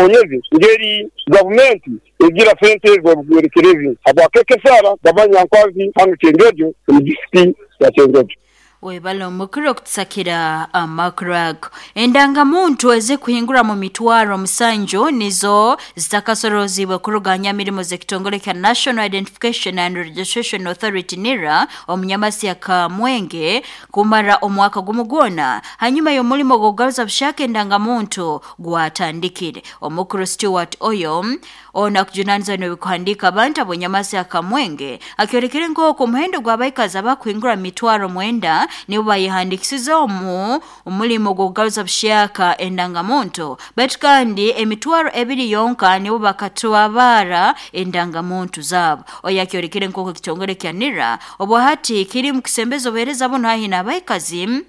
Obukonyezi ngeri gavumenti egira sente z'obuhwerekerezi habwakekesara Bamanya Nkwanzi hanu Kyenjojo omu disitulikiti ya Kyenjojo. Webale omukuru okutusakira amakuru ago. Endangamuntu ezikuhingura mu mitwaro 7 nizo zitakasorozibwe kuruga nyamirimo z'ekitongole kya National Identification and Registration Authority NIRA omunyamasi ya Kamwenge kumara omwaka gumu gwona hanyuma y'omulimo gw'okugaruza bushaka endangamuntu gwatandikire. Omukuru Stewart Oyo ono akujunaniza n'ebikuhandiika abantu ab'enyamasi ya Kamwenge akyorekere nk'oku omuhendo gw'abaikazi abakuhingura mitwaro 9 nibo bayehandikisize omu omulimo gw'okugaruza bushaka endangamuntu, baitu kandi emitwaro 2 yonka nibo bakatwabara endangamuntu zaabo. Oyo akyorekere nk'oku ekitongole kya NIRA obwahati kiri mu kusembeza obuheereza buno haihi n'abaikazi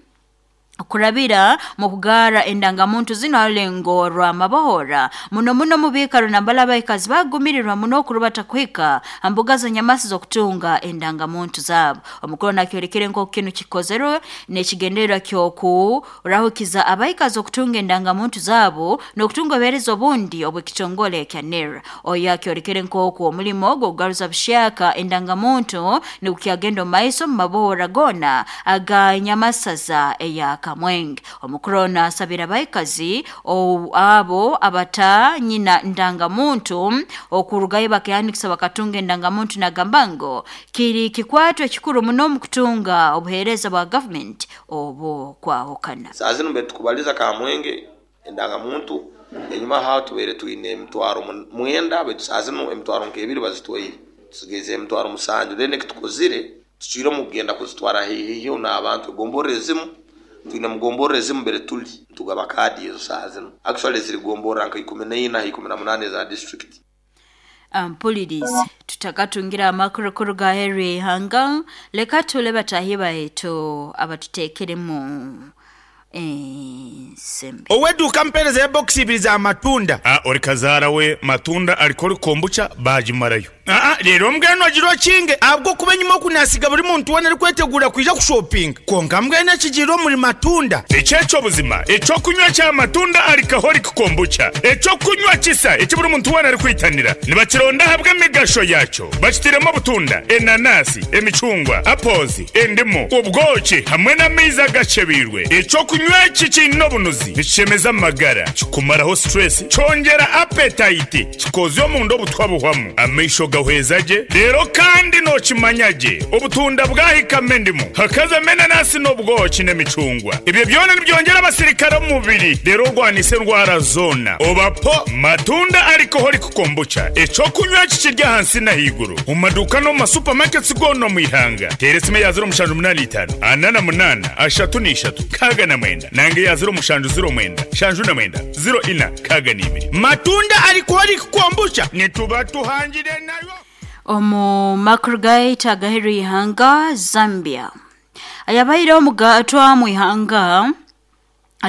kurabira mu kugara endangamuntu zino harulengo rw'amabohora muno muno mu biikaro nambala abaikazi bagumirirwa muno okurubata kuhika ha mbuga z'enyamasi z'okutunga endangamuntu zaabo. Omukuru nakyorekere nk'oku kinu kikozerwe n'ekigendererwa ky'okurahukiza abaikazi okutunga endangamuntu zaabo n'okutunga obuheereza obundi obw'ekitongole kya NIRA. Oyo akyorekere nk'oku omulimo gw'okugaruza bushaka endangamuntu nigukyagenda omu maiso mu mabohora goona aga nyamasaza eya Kamwenge. Omukuru ono asabira abaikazi abo abatanyina ndangamuntu okurugayo bakehandikisa bakatunga endangamuntu, nagamba ngu kiri kikwato ekikuru muno omu kutunga obuheereza bwa gavumenti obukwahukana. Saa zinu mbere tukubaliza Kamwenge endangamuntu, enyuma aho tubaire twine emitwaro 9, baitu saa zinu emitwaro nk'ebiri bazitwaire, tusigaize emitwaro 7. Then ekitukozire tucwire omu kugenda kuzitwara haihi n'abantu egomborra ezimu. Twine mugomborra ezimu mbere tuli ntugaba kaadi ezo saa zinu, actually ziri gomborra nka 14 ha 18 eza district. Mpulirize, tutakatungira amakuru kuruga aheeru y'ihanga, leka tule batahi baitu abatuteekeremu ensimbi. Ow'eduuka ampeereza ya bokisi ibiri za matunda. A Ori kazaara we matunda alcoholic kombucha baagimarayo. Aa Reero mbwenu ogira okinge ahabw'okuba enyima oku naasiga buri muntu weena arikweteguura kwija kushopinga. Kwonka mbwenu ekigiire omuri matunda. Eki eky'obuzima, eky'okunywa kya matunda alcoholic kombucha, eky'okunywa kisa eki buri muntu weena arikwitanira. Nibakironda ahabw'emigasho yaakyo. Bakitairemu obutunda, enanasi, emicungwa, apples, endimu, obwoki hamwe n'amaizi agakyebeirwe. Eky'okunywa eki kiine obunuzi, nikishemeza amagara, kikumaraho stress, kyongyera appetite, kikozya omunda obutwa buhwamu, amaisho gahweza gye, reero kandi nookimanya gye obutunda bwahikamu endimu, hakazamu enanasi n'obwoki n'emicungwa. Ebyo byona nibyongyera abasirikare omu mubiri reero orwanise endwara zoona. Oba po Matunda Alcoholic Kombucha, eky'okunywa eki kiri ahansi n'ahaiguru omu maduuka n'omu ma supermarkets goona omu ihanga. Teera esimu eya 0785 48 33 69 nanga eya 0709 79 04 62. Matunda Alcoholic Kombucha nituba tuhangire nayo. Omu makuru gaitu agaheru y'ihanga, Zambia ayabaire omugatwa mu ihanga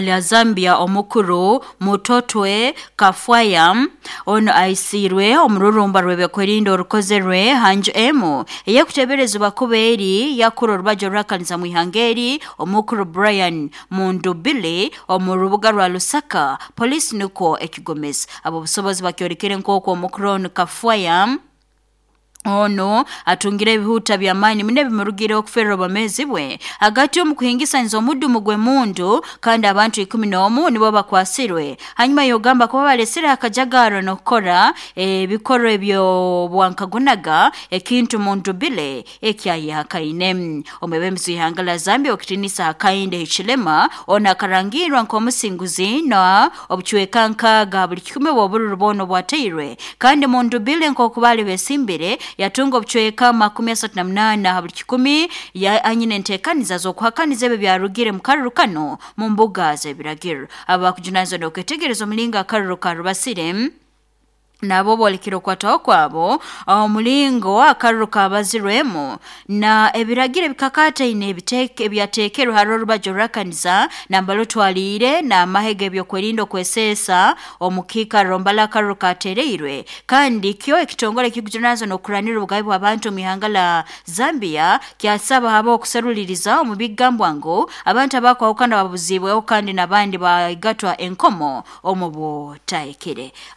lya Zambia omukuru Mutotwe Kafwaya ono aisiirwe omururumba rw'ebyokwerinda orukozerwe hanju emu ey'ekuteeberezebwa kuba eri yakura orubaju orwakaniza mu ihanga eri omukuru Brian Mundubile omu rubuga rwa Lusaka. Poliisi nukwo ekigomeza ab'obusobozi bakyolekere nk'oku omukuru onu Kafwaya ono atungire ebihuta by'amaani muno ebimurugireho okuferera obwomeezi bwe hagati omu kuhingisaniza omudumu gw'emundu, kandi abantu 11 nibo bakwasirwe hanyuma yogamba kuba balesere akajagaro n'okukora ebikorwa eby'obwankagunaga, ekintu Mundubile ekyayehakaine. Omwebembezi w'ihanga lya Zambia okitinisa Hakainde Hichilema ono akarangirwa nk'omusinguzi na obucweka 60 ha buli kikumi obw'obururu bwona obwateirwe, kandi Mundubile nk'oku baali besimbire yatunga obucweka 38 ha buli kikumi, anyine enteekaniza z'okuhakaniza ebyo byarugire mu karuru kano mu mbuga z'ebiragiro. Abakujunanizibwa n'okwetegereza omulingo akaruru karubasire nabo boolekere okwataho kwabo omulingo akaruru kabazirwemu na ebiragiro ebikakataine ebyateekerwe hali orubaju orwakaniza nambala otwaliire n'amahe g'ebyokwerinda okweseesa omu kiikaro mbala akaruru katereirwe. Kandi kyo ekitongole ekikujunanizibwa n'okuranira obugabe bw'abantu omu ihanga la Zambia kyasaba habeho okuseruliriza omu bigambwa ngu abantu abakwahukana babuziibweho kandi n'abandi baigatwa enkomo omu butahikire.